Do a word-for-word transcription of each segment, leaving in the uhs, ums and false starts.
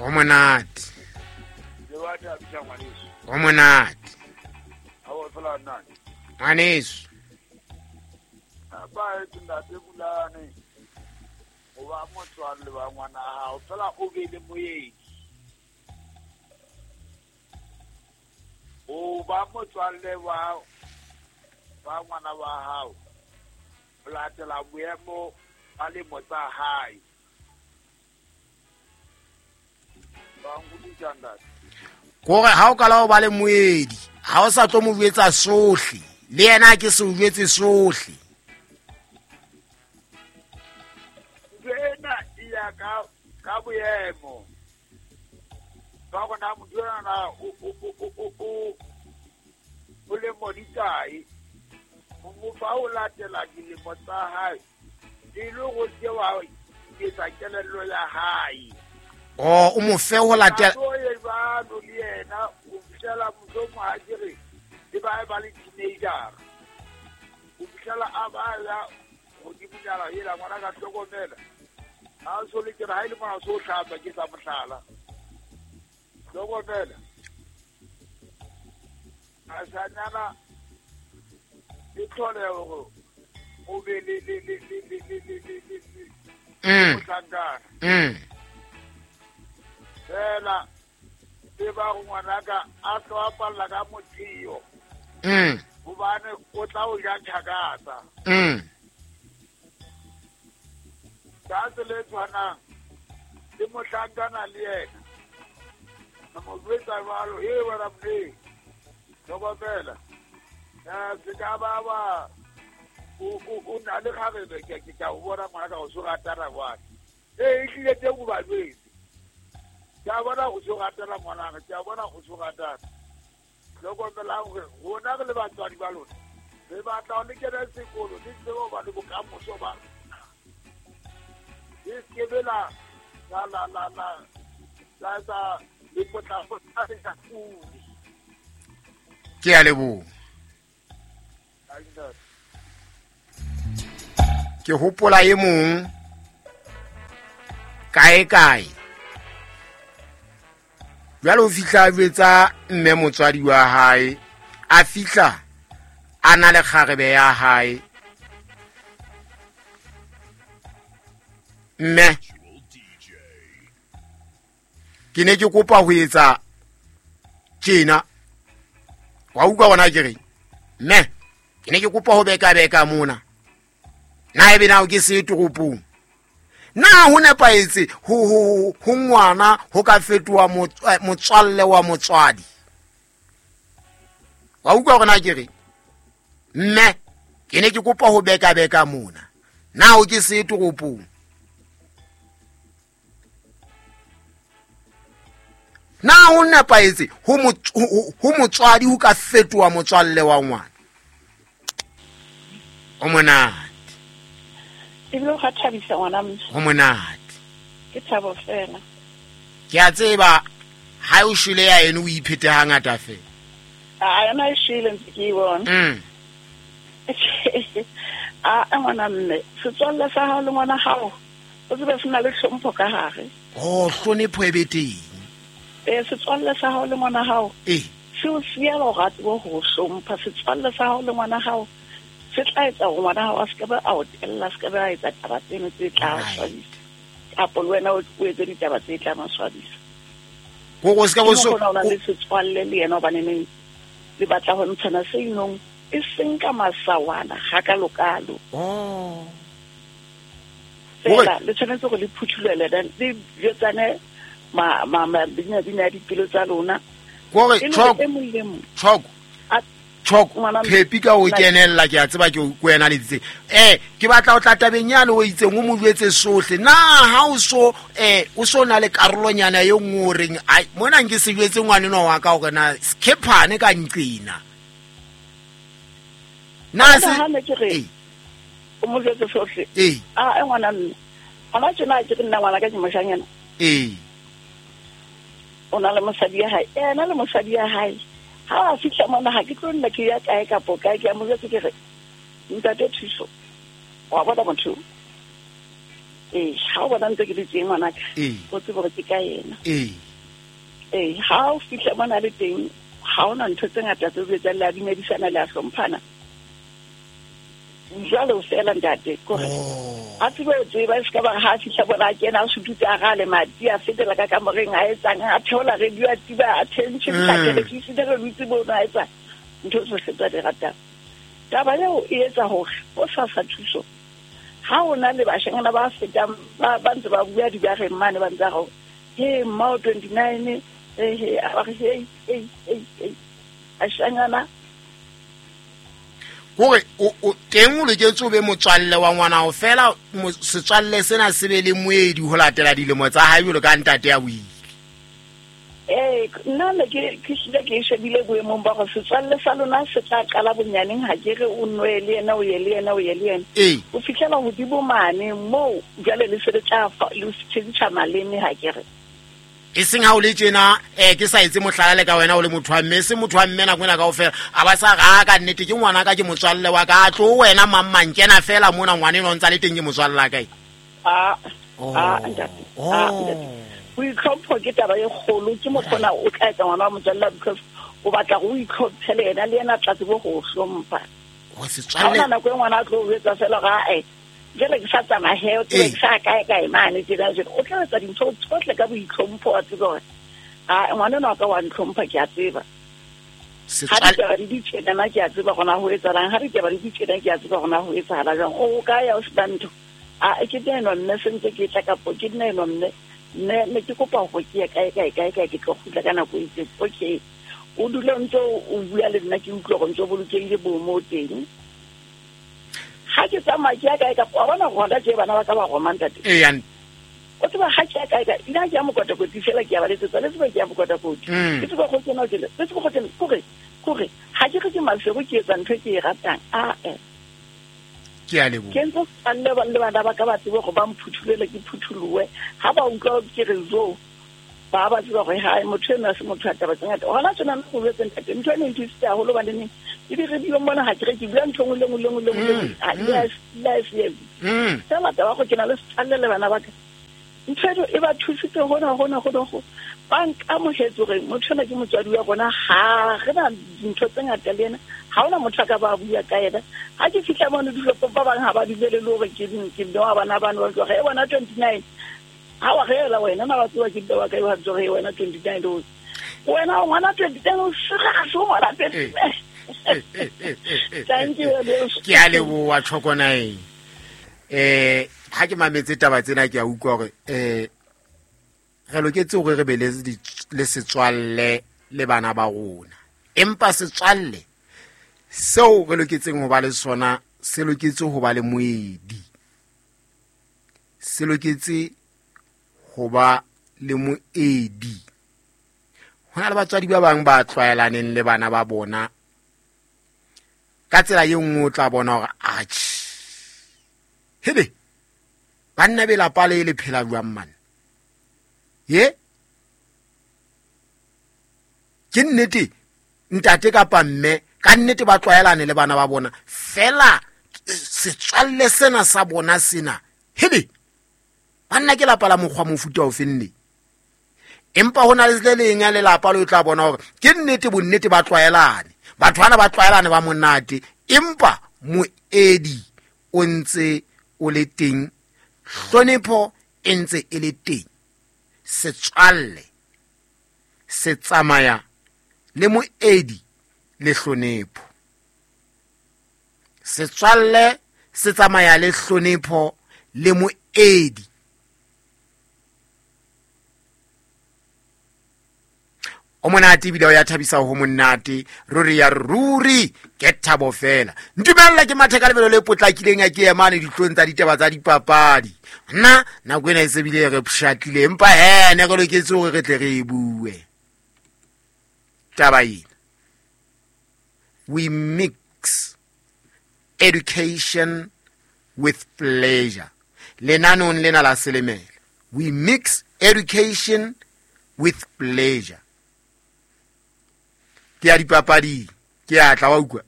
O monate. Le wa thabisa ngwaneso. O monate. Ha o fela nna. Ngwaneso. Ba e ntate Bulane. O ba motswalle wa ngwana hao fela o be le moyedi. O ba motswalle wa ba ngwana wa hao. O latela boemo ba lemo tsa hae. Ba nkutlwisisa ntate. Kore ha o kala o ba le moedi, ha o sa tlo mo jwetsa sohle, le yena ke se o jwetse sohle. Ena e ya ka ka boemo. Ba bona motho ena o o o o o o le moditae. Mo fa o latela dilemo tsa hae. E le go se wa etsa kelello ya hae. Oh, o mo fe ho latela. O e ba no le yena o fihlela motho mo ha kere e ba ba le teenager. O fihlela a ba ya godimo nyana ela ngwana ka hlokomela. Ha so le ke ha ile mona so hlapa ke sa mohlala. Hlokomela. A sa nyana e tlhole hore o be le le le le le le le le le. Mm. Mm. Fela e ba go ngwanaka a tlo apalla ka mothio. Mm. Hobane o tla o ja tjhakatsa. Mm. Ka tsela e tshwanang le mohlankana le yena. Na mo jwetsa jwalo, he wena mme. Hlokomela. Eh se ka ba ba o o na le kgarebe ke ke ka o bona ngwana ka o so ratana jwale. Eh e tlile teng o ba jwetse. Ke a bona o so ratana ngwanaka, ke a bona o so ratana. Hlokomelang hore rona re le batswadi ba lona re batla ho le kena sekolo le tsebe ho ba le bokamoso ba lona. Le se ke la la la la la la etsa lepotlapotla le sa pudi. Ke a leboha. Ke hopola e mong kae kae. Jwale o fihla a jwetsa mme motswadi wa hae, a fihla a na le kgarebe ya hae. Mme ke ne ke kopa ho etsa tjena. Wa utlwa bona ke reng? Mme ke ne ke kopa ho beka beka mona. Na ebe na o ke se toropong? Na ho nepahetse ho ho ho ngwana ho ka fetoha motswalle wa motswadi? Wa utlwa hore na ke re mme ke ne ke kopa ho beka beka mona. Na o ke se toropong? Na ho nepahetse ho ho motswadi ho ka fetoha motswalle wa ngwana? O monate. Ebile o thabisa ngwana mme. Ho monate. Ke thabo fela. Ke a tseba ha o shwele ya eno o iphete hangata fela. A yona e shwele ntse ke e bona. Mm. A ngwana mme, setswalle sa hao le ngwana hao o tsebe se na le hlompho ka hare. Oh, hlonepho e be teng. Eh, setswalle sa hao le ngwana hao. Eh. Se o siya lorato bo ho hlompha setswalle sa hao le ngwana hao. Se tla etsa hore ngwana hao a se ke ba a o tella, a se ke ba etsa taba tseno tse tla o swabisa. Kapo le wena o etse ditaba tse tla mo swabisa. Gore o se ka bo so o na le setswalle le yena hobane neng le batla ho ntshana se inong e seng ka masawana ga ka lokalo. Oh. Fela le tshwanetse gore le phuthulele le jwetsane ma ma ma bina bina dipelo tsa lona. Gore choko choko choko phepi ka o kenella ke a tseba ke ko wena le ditse. Eh ke batla o tla tabeng yane o itseng o mo jwetse sohle. Na ha o so eh o so na le karolonyana e nngwe o reng ai mona nke se jwetse ngwane no wa ka hore na skephane ka nqina. Na se ha ne ke re o mo jwetse sohle. Eh a e ngwana nna. Ana tjena ke nna ngwana ka ke moshanyana. Eh o na le mosadi ya hae. Ena le mosadi ya hae. Ha a fihla mona ha ke tlo nna ke ya kae kapo kae ke a mo jwetse ke re ntate Thuso wa bona motho Ee, ha o bona ntse ke le teng ngwanaka, Ee. o tsebe hore ke ka yena. Ee. Ee, ha o fihla mona le teng, ha hona ntho tse ngata tse o etsang, le a dumedisana, le a hlomphana. Jwale o fela ntate, kore Oh. a tsebe ho tseba, e se ka ba ha a fihla bona a kena, a sututse a rale madi, a fetela ka kamoreng, a etsang, a theola radio, a tiba attention, Mm. televishene, re dutse mono, a etsa ntho tsohle tsa di ratang. Taba eo e etsa hore o sa sa thuso. Ha o na le bashanyana ba fetang, ba, ba ntse ba bua dibareng mane, ba ntse ba re, he, mmao twenty-nine, he, he, a ba re, he, he, he, he, bashanyana. Kore o, o teng o loketse o be motswalle wa ngwana hao fela, mo-, setswalle sena se be le moedi ho latela dilemo tsa hae jwalo ka ntate ya boile. Ee, nna ne ke, ke hlile ke e shebile boemong ba hore setswalle sa lona se tla qala bonyaneng, ha ke re o nwe le yena, o ye le yena, o ye le yena. Ee. O fihlela hodimo mane moo jwale le se le tla fa, le tjhentjha maleme, ha ke re. E seng ha o le tjena, eh, ke sa etse mohlala le ka wena o le motho wa mme, e seng motho wa mme nako ena kaofela, a ba sa re, a ka nnete ke ngwana ka, ke motswalle wa ka, a tlo wena mang mang, kena fela mona ngwana enwa o ntsa le teng ke motswalle wa kae. Ah, Oh. ah, ntate. Ah, ntate. Oh. Boitlhompho ke taba e kgolo, ke mokgona o tla etsa ngwana wa motswalle because o batla hore o itlhomphe le yena, le yena a tla tsebe ho o hlompha. Ho Ha setswalle. hona nako e ngwana a tlo o jwetsa fela hore, ah, eh, jwale ke sa tsamaya he, o tsebe Ee. ke sa kae kae mane tjena jwale. O tla etsa dintho tsohle ka boitlhompho, wa tseba hore, ah, ngwana enwa wa ka wa ntlhompha, ke a tseba. Ha Setswalle. ditaba di di tjena, ke a tseba hore na ho etsahalang. Ha ditaba di di tjena, ke a tseba hore na ho etsahala jwang. O kae ya o sena ntho? Ah, ke nna enwa mme, se ntse ke tla kapo ke nna enwa mme. Mme, ne ke kopa hore ke ye kae, kae, kae, kae, ke tlo kgutla ka nako e itseng. Okay. O dule o ntso o bua le nna, ke utlwe hore o ntso bolokehile bo mo teng. Ha ke tsamaya ke ya kae kapa wa bona hore hona tje bana ba ka ba roma ntate. Ee, ya nna. O tseba ha ke ya kae kae, nna ke ya mokotakoti fela, ke ya ba letsetsa, le tseba ke ya mokotakoti. Mm. Ke tseba go kena ho tjena, le tseba go kena, kore, kore, ha ke re ke Maseru ke etsa ntho e ke e ratang. Ah, eh. Ke a leboha. Ke ntse ke le ba le bana ba ka ba tsebe hore ba mphuthulele, ke phutholohe. Ha ba utlwa ke re zo, ba ba tseba hore hai, motho enwa ha se motho a taba tse ngata. Hona tjena nna go jwetse ntate, ntho ena e nthusitse haholo hobane neng, e di radio mona ha ke re ke bua ntho e nngwe le nngwe le nngwe le nngwe le nngwe. Mm, Ha, le a s-, le a se etse. Mm. Fela taba ya gore ke na le setswalle le bana ba ka. Ntho eno e ba thusitse hona, hona, hona, hona. Ba nkamohetse hore motho enwa ke motswadi wa rona, ha re na dintho tse ngata le yena. Ha hona motho a ka ba bua ka yena. Ha ke fihla mono dishopong, ba bang ha ba dumele le hore ke, ke mme wa bana bano, ba tloha, e bona twenty-nine. Ha wa re ela wena, na ba tseba ke mme wa ka, ba tloha, e wena twenty-nine o. Wena o ngwana twenty-nine, o serious, o ngwana twenty-nine. Eh, eh, eh, eh, eh, Thank you, eh, Adeus. Ke a leboha, Tlhokonaeng. Eh, ha ke mametse taba tsena, ke a utlwa hore, eh, re loketse hore re be le di-, le setswalle le bana ba rona. Empa setswalle seo re loketseng ho ba le sona, se loketse ho ba le moedi. Se loketse ho ba le moedi. Ho na le batswadi ba bang ba tlwaelaneng le bana ba bona. Ka tsela e nngwe o tla bona hore, atjhe, hebe, banna be lapa le le phela jwang man? Ye? Ke nnete, ntate kapa mme, ka nnete ba tlwaelane le bana ba bona. Fela, setswalle sena sa bona sena, hebe, banna ke lapa la mokgwa mofuta ofe nne? Empa ho na le le leng ya lelapa le o tla bona hore ke nnete, bonnete ba tlwaelane. Batho bana ba tlwaelane ba monate, empa moedi o ntse o le teng, hlonepho e ntse e le teng. Setswalle se tsamaya le moedi le hlonepho. Setswalle se tsamaya le hlonepho le moedi. O monate ebile o ya thabisa ho monate, ruri ya ruri ke thabo fela. Ntumella ke mathe ka lebelo le potlakileng a ke emane dihlong tsa ditaba tsa dipapadi. Nna nako ena e se bile re pshatlile, empa he ne re loketse hore re tle re e bue. Taba ena, we mix education with pleasure. Lenanong lena la Selemela, we mix education with pleasure. Ke ya dipapading, ke ya tla wa utlwa.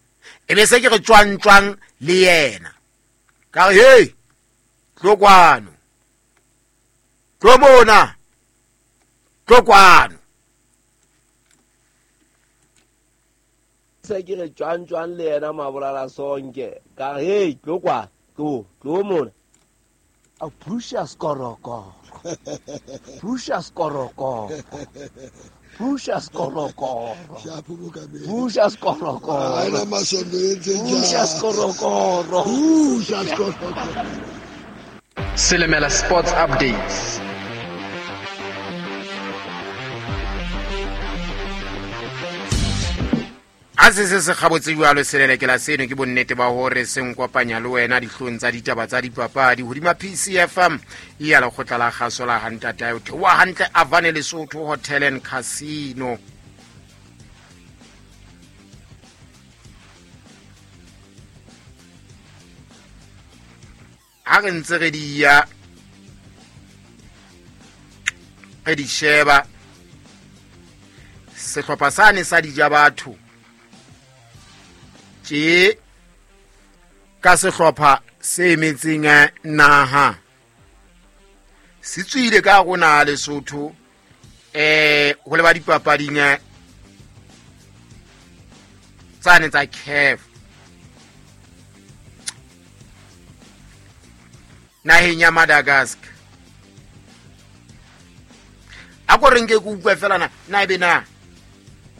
E be se ke re tjwang tjwang le yena. Ka re, hey, tlo kwano. Tlo mona, tlo kwano. Se ke re tjwang tjwang le yena mabolala sonke ka hey tlo kwa tlo tlo mona a pusha skoroko pusha skoroko pusha skoroko pusha skoroko ana masondo entse pusha skoroko pusha skoroko. Silimela Sports Updates. A se se se kgabotse jwalo selelekela seno ke bonnete ba hore se nkopanya le wena dihlong tsa ditaba tsa dipapadi hodima P C F M ya lekgotla la kgaso la hantata o theoha hantle Avane Lesotho Hotel and Casino. Ha re ntse re di ya re di sheba sehlopha sane sa Dijabatho tje ka sehlopha se emetseng naha se tswile ka rona Lesotho eh ho leba dipapading tsane tsa C A F naheng ya Madagascar. A ko re nke ke utlwe fela na na ebe na